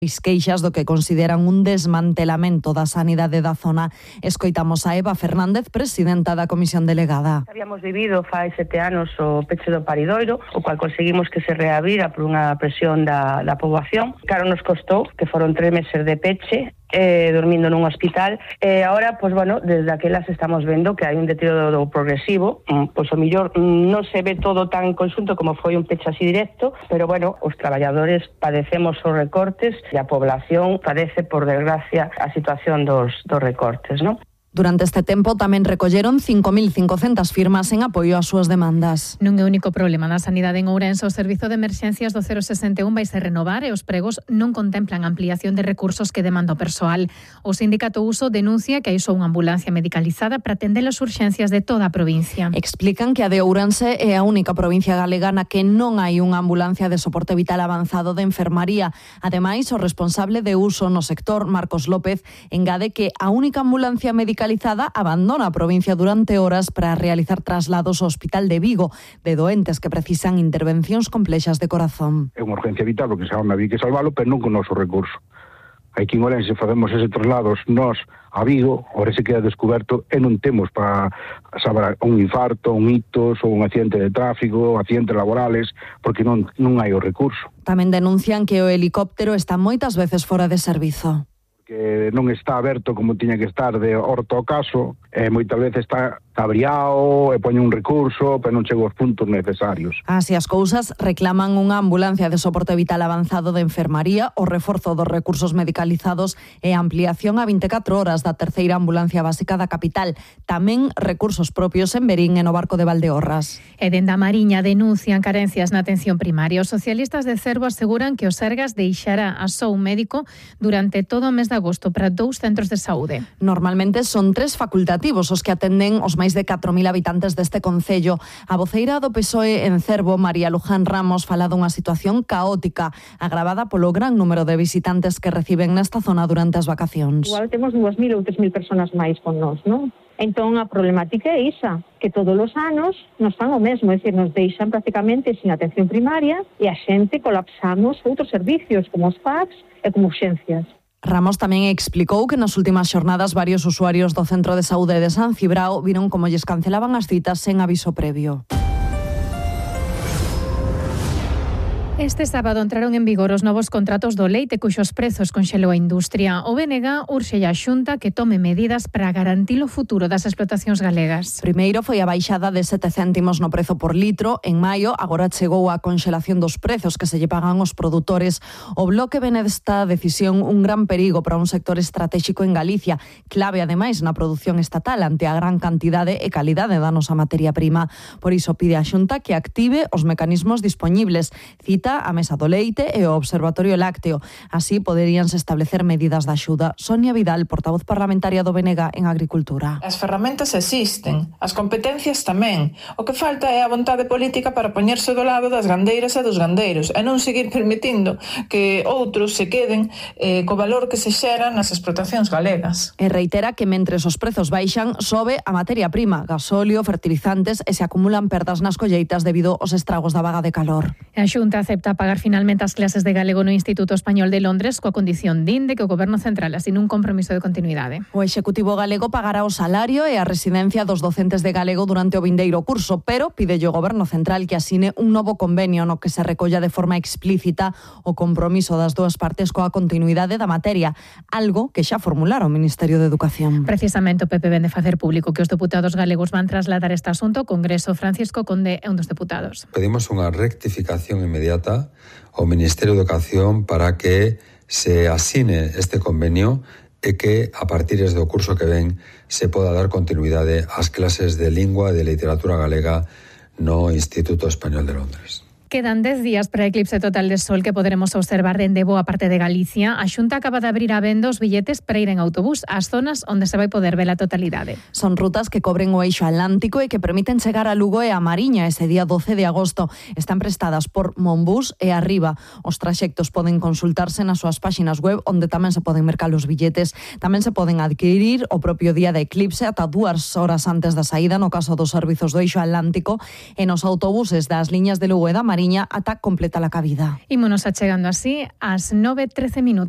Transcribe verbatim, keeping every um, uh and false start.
queixas do que consideran un desmantelamento da sanidade da zona. Escoitamos a Eva Fernández, presidenta da Comisión Delegada. Habíamos vivido fai sete anos o peche do paridoiro, o cual conseguimos que se reabira por unha presión da, da poboación. Claro, nos costou, que foron tres meses de peche, eh, dormindo nun hospital, e agora, pois, bueno, desde aquelas estamos vendo que hai un deterioro progresivo, pois o millor non se ve todo tan conxunto como foi un peche así directo, pero, bueno, os traballadores padecemos os recortes e a población padece, por desgracia, a situación dos, dos recortes, non? Durante este tempo tamén recolleron cinco mil cincocentas firmas en apoio ás súas demandas. Non é o único problema na sanidade en Ourense. O servizo de emerxencias do cero sesenta e un vai se renovar e os pregos non contemplan ampliación de recursos que demanda o persoal. O sindicato Uso denuncia que hai só unha ambulancia medicalizada para atender as urxencias de toda a provincia. Explican que a de Ourense é a única provincia galega na que non hai unha ambulancia de soporte vital avanzado de enfermaría. Ademais, o responsable de Uso no sector, Marcos López, engade que a única ambulancia medicalizada abandona a provincia durante horas para realizar traslados ao Hospital de Vigo de doentes que precisan intervencións complexas de corazón. É unha urgencia vital, porque se había que salvalo, pero non con o noso recurso. Aquí en Ourense facemos ese traslados nós a Vigo, ahora se queda descoberto e non temos para saber un infarto, un ictus ou un accidente de tráfico, accidentes laborales, porque non, non hai o recurso. Tamén denuncian que o helicóptero está moitas veces fora de servizo. Que non está aberto como tiña que estar de orto ao caso, e moitas veces está abriado e poñe un recurso, pero non chega aos puntos necesarios. Así as cousas, reclaman unha ambulancia de soporte vital avanzado de enfermaría, o reforzo dos recursos medicalizados e a ampliación a vinte e catro horas da terceira ambulancia básica da capital. Tamén recursos propios en Verín e no Barco de Valdeorras. E dende a Mariña denuncian carencias na atención primaria. Os socialistas de Cervo aseguran que o Sergas deixará a só un médico durante todo o mes de agosto para dous centros de saúde. Normalmente son tres facultativos os que atenden os máis de catro mil habitantes deste concello. A voceira do P S O E en Cervo, María Luján Ramos, fala dunha situación caótica agravada polo gran número de visitantes que reciben nesta zona durante as vacacións. Igual temos dúas mil ou tres mil personas máis con nós, non? Entón a problemática é esa, que todos os anos nos fan o mesmo, é dicir, nos deixan prácticamente sin atención primaria e a xente colapsamos outros servicios como os P A Cs e como urxencias. Ramos tamén explicou que nas últimas xornadas varios usuarios do Centro de Saúde de San Cibrao viron como lles cancelaban as citas sen aviso previo. Este sábado entraron en vigor os novos contratos do leite cuxos prezos conxelou a industria. O B N G urxe a Xunta que tome medidas para garantir o futuro das explotacións galegas. Primeiro foi a baixada de sete céntimos no prezo por litro. En maio, agora chegou a conxelación dos prezos que se lle pagan os produtores. O Bloque ven desta decisión un gran perigo para un sector estratégico en Galicia, clave ademais na produción estatal ante a gran cantidade e calidade da nosa materia prima. Por iso pide a Xunta que active os mecanismos dispoñibles. Cita a Mesa do Leite e o Observatorio Lácteo. Así poderíanse establecer medidas de axuda. Sonia Vidal, portavoz parlamentaria do B N G en Agricultura. As ferramentas existen, as competencias tamén. O que falta é a vontade política para poñerse do lado das gandeiras e dos gandeiros e non seguir permitindo que outros se queden eh, co valor que se xera nas explotacións galegas. E reitera que mentres os prezos baixan, sobe a materia prima, gasóleo, fertilizantes e se acumulan perdas nas colleitas debido aos estragos da vaga de calor. A Xunta acepta pagar finalmente as clases de galego no Instituto Español de Londres coa condición din de que o Goberno Central asine un compromiso de continuidade. O Executivo galego pagará o salario e a residencia dos docentes de galego durante o vindeiro curso, pero pide o Goberno Central que asine un novo convenio no que se recolla de forma explícita o compromiso das dúas partes coa continuidade da materia, algo que xa formulara o Ministerio de Educación. Precisamente o P P vén de facer público que os deputados galegos van trasladar este asunto ao Congreso. Francisco Conde é un dos deputados. Pedimos unha rectificación inmediata ao Ministerio de Educación para que se asine este convenio e que a partir do curso que ven se poda dar continuidade ás clases de lingua e de literatura galega no Instituto Español de Londres. Quedan dez días para o eclipse total de sol que poderemos observar dende boa parte de Galicia. A Xunta acaba de abrir a venda os billetes para ir en autobús ás zonas onde se vai poder ver a totalidade. Son rutas que cobren o eixo atlántico e que permiten chegar a Lugo e a Mariña ese día doce de agosto. Están prestadas por Monbús e Arriba. Os traxectos poden consultarse nas súas páxinas web onde tamén se poden mercar os billetes. Tamén se poden adquirir o propio día de eclipse ata dúas horas antes da saída no caso dos servizos do eixo atlántico e nos autobuses das liñas de Lugo e da Mariña ata completa a cabida. Ímonos achegando así ás nove e trece minutos.